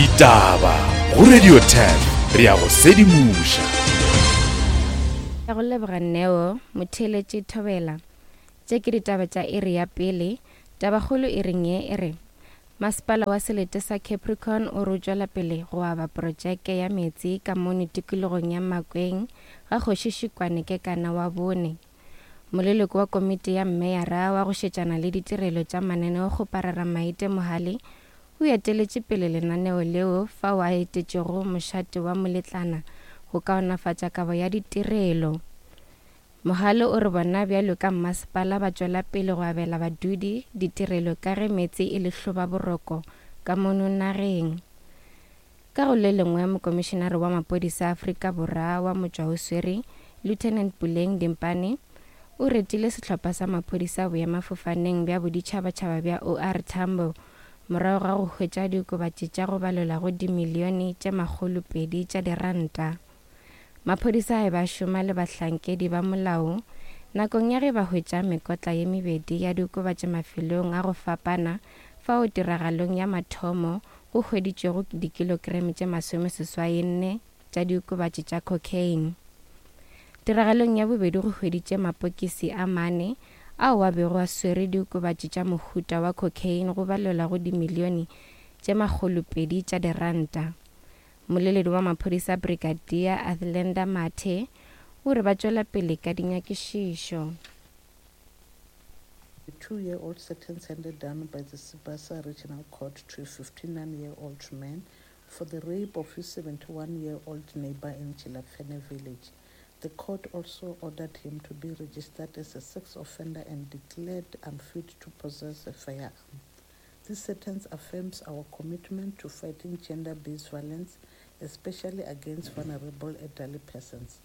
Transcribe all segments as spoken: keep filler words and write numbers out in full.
Ditaba go Radio ten re ya go sedimoša. Ya go leboga Neo, motheeletši Thobela. Tše ke ditaba tša iri ya pele. Tabakgolo e reng ye e re Masepala wa selete sa Capricorn o re o tšwela pele go aba projeke ya meetse ka mono tikologong ya Makweng ga Kgoši Šikwane Kekana wa bone. Moleloko wa komiti ya mmeyara wa go šetšana le ditirelo tša mananeo kgoparara Maite Mohale o eteletše pele lenaneo leo fao a etetšego mošate wa Moletlana go kaonafatša kabo ya ditirelo. Mohale o re bona bjalo ka mmasepala ba tšwela pele go abela badudi ditirelo ka ge meetse e le hlobaboroko ka mono nageng. Ka go le lengwe mokomišenare wa maphodisa a Afrika Borwa wa motšwaoswere Lieutenant Puleng Dimpane o retile sehlopha sa maphodisa boemafofaneng bja boditšhabatšhaba bja O R Tambo morago ga go hwetša diokobatši tša go balelwa go dimilione tše makgolo pedi tša diranta. Maphodisa a ba šoma le bahlankedi ba molao nakong ya ge ba hwetša mekotla ye mebedi ya diokobatši mafelong a go fapana fao tiragalong ya mathomo go hweditšwego dikilogramo tše masomeseswai nne tša diokobatši tša cocaine. Tiragalong ya bobedi go hweditše mapokisi a mane ao a bego a swere diokobatši tša mohuta wa cocaine go balelwa go dimilione tše makgolo pedi tša diranta. Moleledi wa maphodisa Brigadier Athlenda Mathe o re ba tšwela pele ka dinyakišišo. A two-year-old sentence handed down by the Sibasa Regional Court to a fifty-nine-year-old man for the rape of his seventy-one-year-old neighbor in Tshilapfene village. The court also ordered him to be registered as a sex offender and declared unfit to possess a firearm. This sentence affirms our commitment to fighting gender-based violence, especially against vulnerable elderly persons.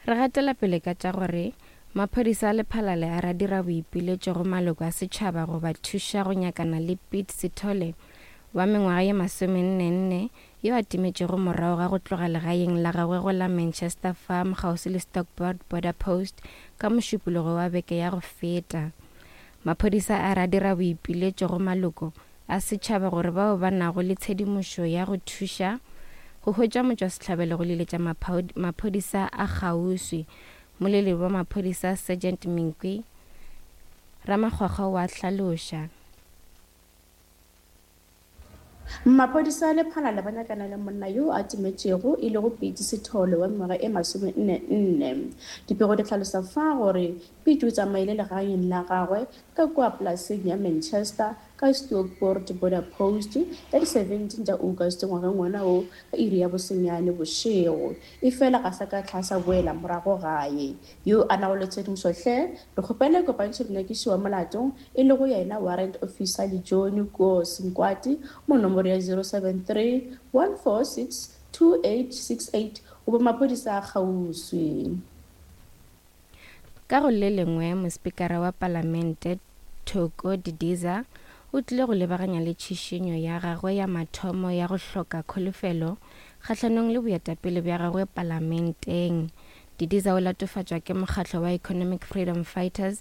Re gatela pele ka tša gore maphodisa a Lephalale a ra dira boipiletšo go maloko a setšhaba go ba thuša go nyakana le Piet Sithole wa mengwaga ye masomenne nne yo a timetšego morago ga go tloga legaeng la gagwe go la Manchester Farm kgauswi le Stockport Border Post ka mošupologo wa beke ya go feta. Maphodisa a ra dira boipiletšo go maloko a setšhaba gore bao ba nago le tshedimošo ya go thuša go hwetša motšwasehlabelo go leletša maphodisa a kgauswi. Moleledi wa maphodisa Sergeant Minkwi Ramakgwakgwa wa hlaloša. Maphodisa a Lephalale ba nyakana le monna yo a timetšego e lego Piet Sithole wa mengwaga e masomenne nne. Dipego di hlalosa fa gore Piet o tsamaile legaeng la gagwe ka kua polaseng ya Manchester ka Stockport Border Post ka di seventeen tša August ngwageng wona wo ka iri ya bosenyane bošego. Efela ga sa ka tlhasa boela morago gae. Yo a nago le tshedimošo hle re kgopela kopantšho dinyakišišo wa molato e lego yena Warrant Officer Lejohn Koos Nkwati mo nomoro ya zero seven three one four six two eight six eight goba maphodisa a kgauswi. Ka go le lengwe mospikara wa palamente Thoko Didiza o tlile go lebaganya le tšhišinyo ya gagwe ya mathomo ya go hloka kholofelo kgahlanong le boetapele bja gagwe palamenteng. Didiza o latofatšwa ke mokgatlo wa Economic Freedom Fighters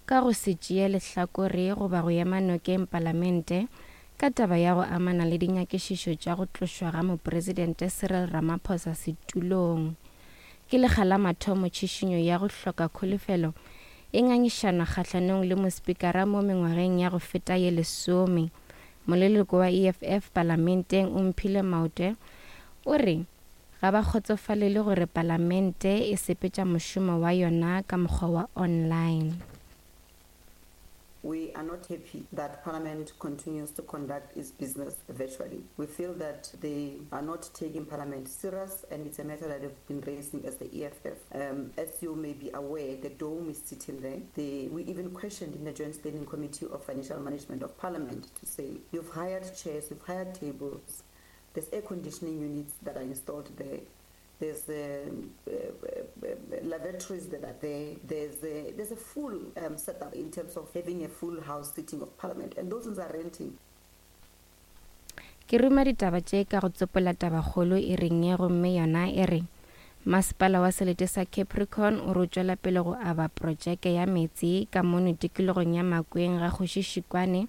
ka go se tšee lehlakore goba go ema nokeng palamente ka taba ya go amana le dinyakišišo tša go tlošwa ga mopresidente Cyril Ramaphosa setulong. Ke lekga la mathomo tšhišinyo ya go hloka kholofelo e ngangišanwa kgahlanong le mospikara mo mengwageng ya go feta ye lesome. Moleloko wa E F F palamenteng Omphile Maotwe o re ga ba kgotsofalele gore palamente e sepetša mošomo wa yona ka mokgwa wa online. We are not happy that Parliament continues to conduct its business virtually. We feel that they are not taking Parliament serious, and it's a matter that they've been raising as the E F F. Um, as you may be aware, the dome is sitting there. They, we even questioned in the Joint Standing Committee of Financial Management of Parliament to say, you've hired chairs, you've hired tables, there's air conditioning units that are installed there. There's, um, uh, uh, lavatories that are there. There's a, there's a full, um, setup in terms of having a full house sitting of Parliament, and those ones are renting. Ke ruma ditaba tše ka go tsopola tabakgolo e reng ye gomme yona e re Masepala wa selete sa Capricorn o re o tšwela pele go aba projeke ya meetse ka mono tikologong ya Makweng ga Kgoši Šikwane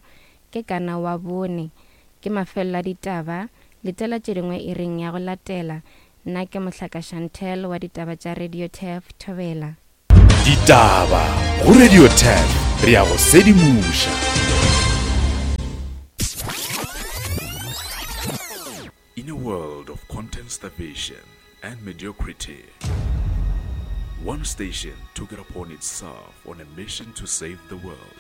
ke kana wa bone. Ke mafelelo a ditaba, letela tše dingwe iring ya go latela. Nna ke Mohlaka Chantel wa ditaba tša Radio Turf Thobela. Ditaba go Radio Turf, re a go sedimoša. In a world of content starvation and mediocrity, one station took it upon itself on a mission to save the world.